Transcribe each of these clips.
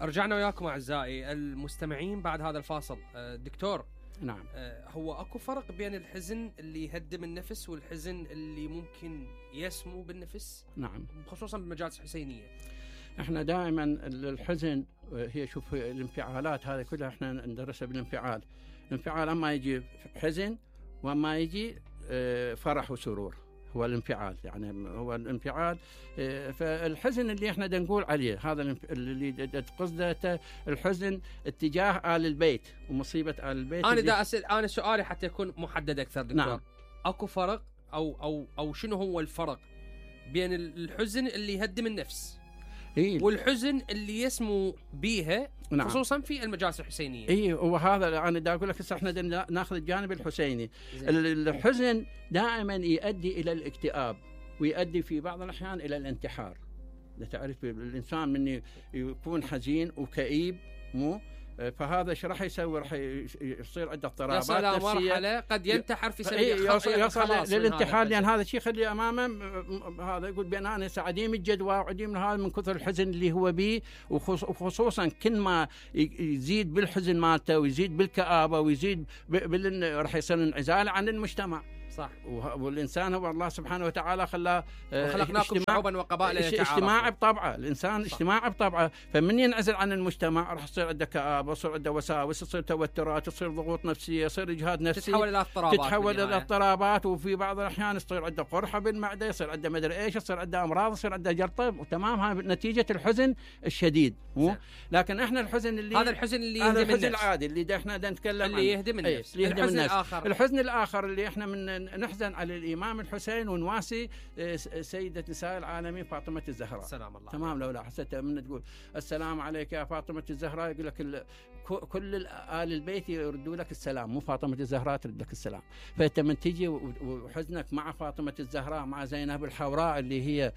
رجعنا وياكم اعزائي المستمعين بعد هذا الفاصل. دكتور، نعم. هو اكو فرق بين الحزن اللي يهدم النفس والحزن اللي ممكن يسمو بالنفس؟ نعم، خصوصا بالمجالس الحسينيه. احنا دائما الحزن هي شوف الانفعالات هذه كلها احنا ندرسها بالانفعال. الانفعال اما يجي حزن واما يجي فرح وسرور، هو الانفعال. يعني هو الانفعال. فالحزن اللي احنا نقول عليه هذا اللي قصده الحزن اتجاه آل البيت ومصيبة آل البيت. انا دا اسال، انا سؤالي حتى يكون محدد اكثر دكتور. نعم. اكو فرق او شنو هو الفرق بين الحزن اللي يهدم النفس والحزن اللي يسمو بيها؟ نعم. خصوصا في المجالس الحسينيه. وهذا انا دا اقول لك هسه احنا ناخذ الجانب الحسيني. الحزن دائما يؤدي الى الاكتئاب ويؤدي في بعض الاحيان الى الانتحار. تعرف الانسان من يكون حزين وكئيب فهذا ايش راح يسوي؟ راح يصير عنده اضطرابات نفسيه. يصل مرحله قد ينتحر في سبيل يصل للانتحار، لان هذا الشيء يخلي امامه هذا يقول بان انا عديم الجدوى وعديم من هذا من كثر الحزن اللي هو به. وخصوصا كل ما يزيد بالحزن مالته ويزيد بالكآبه ويزيد راح يصير انعزال عن المجتمع. صح. والإنسان هو الله سبحانه وتعالى خلاه خلقناكم شعوبا وقبائل اجتماعي بطبعه. الإنسان اجتماعي بطبعه، فمن ينعزل عن المجتمع راح يصير عنده كآبة، يصير عنده وساوس، يصير توترات، يصير ضغوط نفسية، يصير إجهاد نفسي، تتحول إلى اضطرابات. وفي بعض الأحيان يصير عنده قرحة بالمعدة، يصير عنده مدري إيش، يصير عنده أمراض، يصير عنده جلطة. وتمام، هاي نتيجة الحزن الشديد. لكن إحنا الحزن اللي هذا الحزن اللي يهدم النفس، الحزن العادي اللي إحنا نتكلم عنه اللي يهدم النفس. الحزن الآخر اللي إحنا من نحزن على الإمام الحسين ونواسي سيدة نساء العالمين فاطمة الزهراء. سلام الله. تمام. لو لاحظت من تقول السلام عليك يا فاطمة الزهراء، يقول لك كل آل البيت يردوا لك السلام، مو فاطمة الزهراء ترد لك السلام. فأنت من تجي وحزنك مع فاطمة الزهراء مع زينب الحوراء اللي هي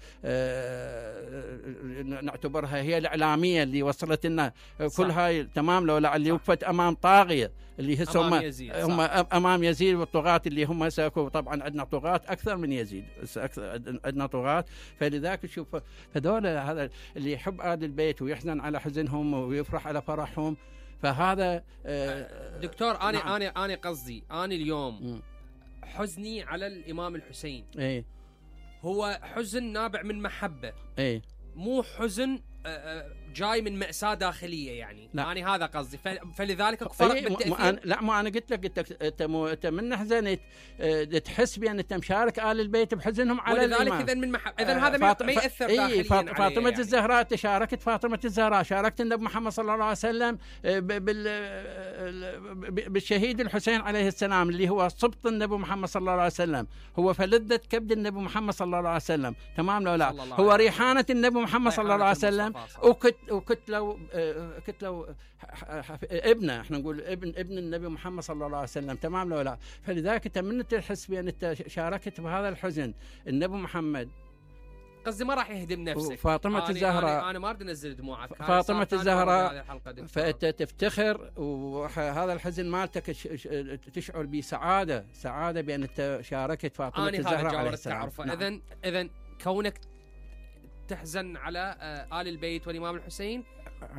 نعتبرها هي الإعلامية اللي وصلت لنا كل هاي. تمام. لو اللي وقفت أمام طاغية اللي هم أمام يزيد والطغاة اللي هم ساكوا. طبعا عندنا طغاة أكثر من يزيد، عندنا طغاة. فلذلك شوف هذول هذا اللي يحب آل البيت ويحزن على حزنهم ويفرح على فرحهم. فهذا دكتور أنا قصدي أنا اليوم حزني على الإمام الحسين هو حزن نابع من محبة، مو حزن جاي من مأساة داخلية. يعني أنا هذا قصدي. فلذلك فرق بالتأثير. لا، ما أنا قلت لك أنت من حزنت تحس بأن أنت مشارك آل البيت بحزنهم على الإمام. ولذلك إذن من إذن هذا ما يأثر داخليا. فاطمة يعني. الزهراء تشاركت فاطمة الزهراء، شاركت النبي محمد صلى الله عليه وسلم بالشهيد الحسين عليه السلام اللي هو صبط النبي محمد صلى الله عليه وسلم، هو فلذة كبد النبي محمد صلى الله عليه وسلم. تمام. لو لا هو ريحانة النبي محمد صلى الله عليه وسلم. وكتلو ابنه، احنا نقول ابن النبي محمد صلى الله عليه وسلم. تمام. لو لا فلذلك انت من تحس بان انت شاركت بهذا الحزن النبي محمد. قصدي ما راح يهدم نفسك. فاطمة الزهراء انا ما اريد انزل دموعك. فاطمة الزهراء فانت تفتخر، وهذا الحزن مالتك تشعر بسعادة بان انت شاركت فاطمة الزهراء عليه السلام. اذا كونك تحزن على آل البيت والإمام الحسين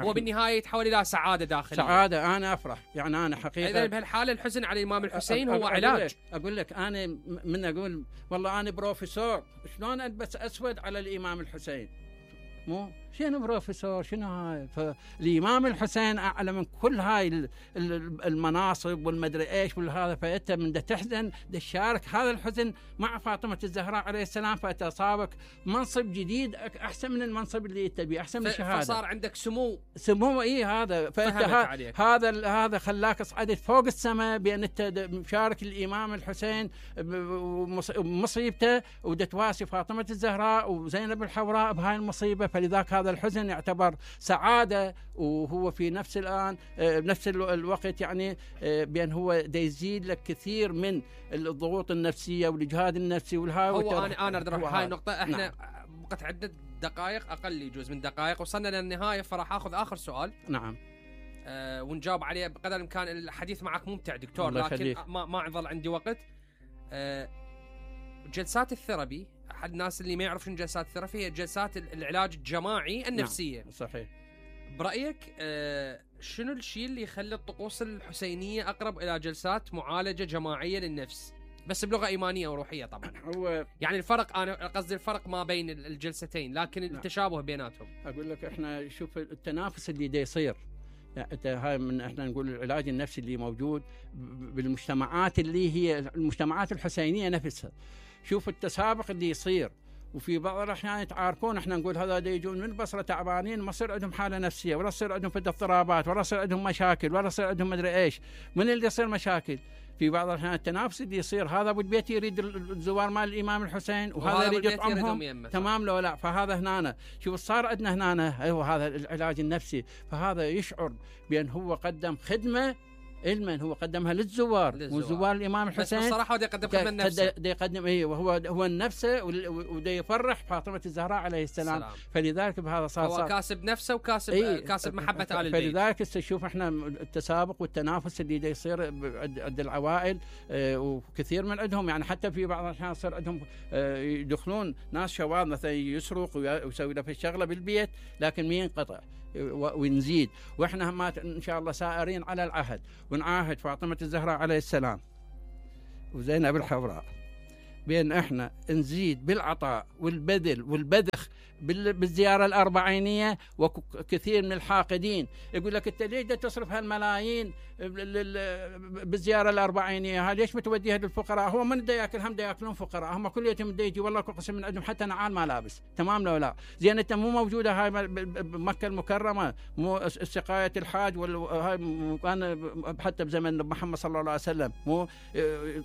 وبالنهاية يتحول إلى سعادة داخلية. سعادة، أنا أفرح. يعني أنا حقيقة إذن بهالحالة الحزن على الإمام الحسين هو علاج. أقول لك أنا من أقول والله أنا بروفيسور، شلون ألبس أسود على الإمام الحسين؟ مو شنو بروفيسور شنو هاي؟ فالإمام الحسين أعلى من كل هاي المناصب والمدري إيش والهذا. فأنت من تحزن تشارك هذا الحزن مع فاطمة الزهراء عليه السلام، فتصابك منصب جديد أحسن من المنصب اللي تبي، أحسن من الشهادة. فصار عندك سمو هذا. فأنت هذا خلاك صعدت فوق السماء بأن أنت مشارك الإمام الحسين بمصيبته وتواسي فاطمة الزهراء وزينب الحوراء بهاي المصيبة. فلذلك هذا الحزن يعتبر سعادة، وهو في نفس بنفس الوقت يعني بأن هو يزيد لك كثير من الضغوط النفسية والإجهاد النفسي هو أنا أريد أروح هاي النقطة. إحنا بقت عدة دقائق، أقل يجوز من دقائق وصلنا للنهاية، فراح أخذ آخر سؤال. نعم. ونجاوب عليه بقدر الإمكان. الحديث معك ممتع دكتور، لكن ما ظل عندي وقت. جلسات الثيرابي، أحد الناس اللي ما يعرف شنو جلسات الثيرابي هي جلسات العلاج الجماعي النفسية. نعم. صحيح. برايك شنو الشيء اللي يخلي الطقوس الحسينيه اقرب الى جلسات معالجه جماعيه للنفس بس بلغه ايمانيه وروحيه طبعا؟ هو يعني الفرق، انا قصدي الفرق ما بين الجلستين، لكن التشابه بيناتهم. اقول لك احنا شوف التنافس اللي دا يصير، يعني هاي من احنا نقول العلاج النفسي اللي موجود بالمجتمعات اللي هي المجتمعات الحسينيه نفسها. شوف التسابق اللي يصير، وفي بعض الاحيان يتعاركون، احنا نقول هذا يجون من البصره تعبانين، ما يصير عندهم حاله نفسيه، ولا يصير عندهم اضطرابات، ولا يصير عندهم مشاكل، ولا يصير عندهم مدري ايش. من اللي يصير مشاكل؟ في بعض الاحيان التنافس اللي يصير، هذا ابو البيت يريد الزوار مال الامام الحسين، وهذا يريد يطعمهم، تمام لو لا؟ فهذا هنا شوف صار عندنا هنا ايوه هذا العلاج النفسي، فهذا يشعر بان هو قدم خدمه علما، هو قدمها للزوار وزوار الامام الحسين، بس بصراحه بده يقدم خدمه لنفسه، بده يقدم هو نفسه، وده يفرح فاطمه الزهراء عليه السلام. فلذلك بهذا صار هو كاسب نفسه وكاسب كاسب محبه آل البيت. فلذلك تشوف احنا التسابق والتنافس اللي ده يصير عند العوائل، وكثير من عندهم يعني حتى في بعض الاحيان يصير عندهم يدخلون ناس شواذ مثلا يسرق ويسوي له في الشغله بالبيت، لكن ما ينقطع ونزيد. واحنا هم ان شاء الله سائرين على العهد، ونعاهد فاطمه الزهراء عليه السلام وزينب الحوراء بان احنا نزيد بالعطاء والبذل والبذخ بالزياره الاربعينيه. وكثير من الحاقدين يقول لك انت ليش تصرف هالملايين بالزياره الاربعينيه؟ ليش متوديها للفقراء؟ هو من دا ياكل هم دا ياكلون فقراء، هم كل يوم دا يجي والله قسم من عندهم حتى نعال ملابس، تمام لو لا؟ زين انت مو موجوده هاي بمكه المكرمه، مو سقايه الحاج وهاي كان حتى بزمن محمد صلى الله عليه وسلم، مو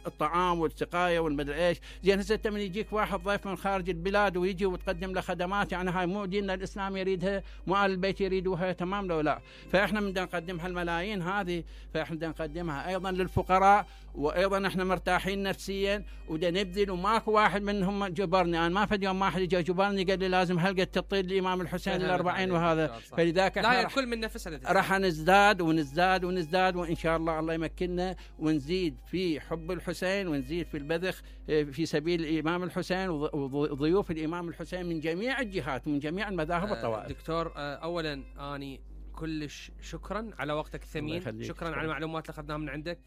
الطعام والسقايه والمدري ايش. زين هسه انت من يجيك واحد ضيف من خارج البلاد ويجي وتقدم له خدمات، يعني هاي مو ديننا الاسلام يريدها، مو آل البيت يريدوها، تمام لو لا؟ فاحنا بدنا نقدم هالملايين هذه، فاحنا بدنا نقدمها ايضا للفقراء، وايضا احنا مرتاحين نفسيا ودا نبذل، وماكو واحد منهم جبرني. انا ما فد يوم ما حد جا جبرني قال لي لازم هلقد تطير الامام الحسين ال40 وهذا. فلذاك لا الكل من نفسه راح نزداد ونزداد ونزداد، وان شاء الله الله يمكننا ونزيد في حب الحسين، ونزيد في البذخ في سبيل الامام الحسين وضيوف الامام الحسين من جميع الجهات ومن جميع المذاهب والطوائف. دكتور اولا اني كلش شكرا على وقتك الثمين، شكرا على المعلومات اللي اخذناها من عندك.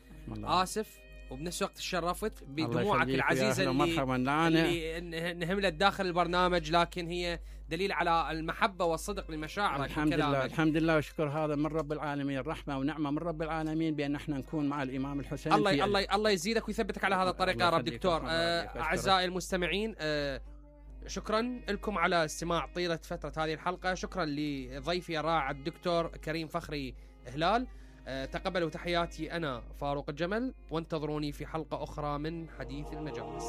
اسف وبنفس الوقت تشرفت بدموعك العزيزه اللي نهملت داخل البرنامج، لكن هي دليل على المحبه والصدق لمشاعرك. الحمد لله الحمد لله وشكر هذا من رب العالمين، رحمه ونعمه من رب العالمين بان احنا نكون مع الامام الحسين. الله يزيدك ويثبتك على هذا الطريق يا رب. دكتور اعزائي المستمعين، شكرا لكم على استماع طيله فتره هذه الحلقه. شكرا لضيفي الرائع الدكتور كريم فخري هلال. تقبلوا تحياتي، أنا فاروق الجمل، وانتظروني في حلقة أخرى من حديث المجالس.